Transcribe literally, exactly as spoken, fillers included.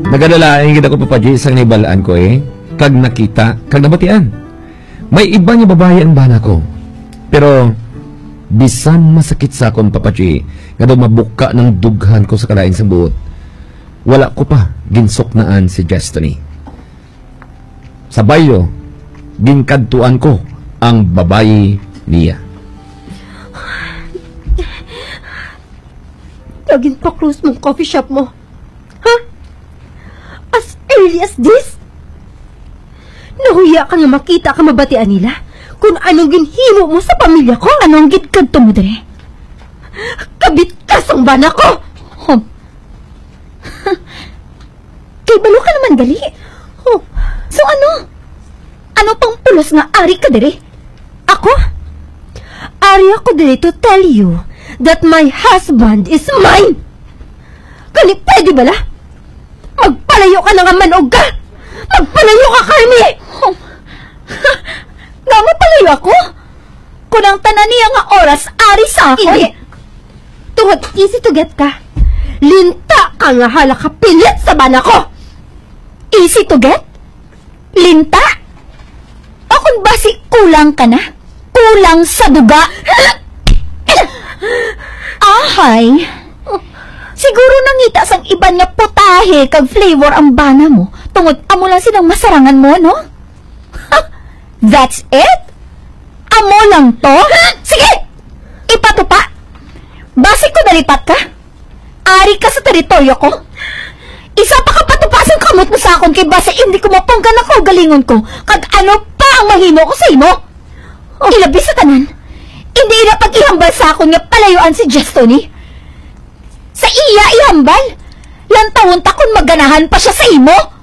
Nagadalain gid ako, Papa G, sang nahibal-an ko, eh, kag nakita, kag nabatian. May iba nga babayi ang bana ko. Pero, bisan masakit sa akon, Papa G, nga daw mabuka ng dughan ko sa kalain sang buot, wala ko pa ginsuknaan si Destiny. Sa bayo, ginkadtuan ko ang babayi niya. Kag ginpa-close mong coffee shop mo. Ha? As early as this? Nahuya ka nga makita ka mabatian nila kung anong ginhimo mo sa pamilya ko? Anong gid kadto mo dire? Kabit ka sang bana ko! Oh. Kay balo ka naman gali. Oh. So ano? Ano pang pulos nga ari ka diri? Ako? Ari ako diri to tell you that my husband is mine! Kani pwede bala? Magpalayo ka na nga, manog ka! Magpalayo ka, Carmi! Oh. Nga mapalayo ako? Kung ang tanan niya nga oras ari sa akon. Hindi. Tungod easy to get ka. Linta ka nga hala ka pilit sa bana ko. Easy to get? Linta? O kung basi kulang ka na? Kulang sa duga? Ahay. Siguro nangita sang iban nga putahe kag flavor ang bana mo, tungod amo lang silang masarangan mo, no? That's it? Amo lang to? Sige! Ipatupa! Basi ko nalipat ka? Ari ka sa teritoryo ko? Isa pa ka patupa sang kamot mo sa akon kay basi hindi ko mapunggan ang kaugalingon ko kag ano pa ang mahimo ko sa imo. Ilabi sa tanan, hindi ila pag-ihambal sa akon nga palayuan si Jestoni. Sa iya ihambal, lantawon ta kon maganahan pa siya sa imo.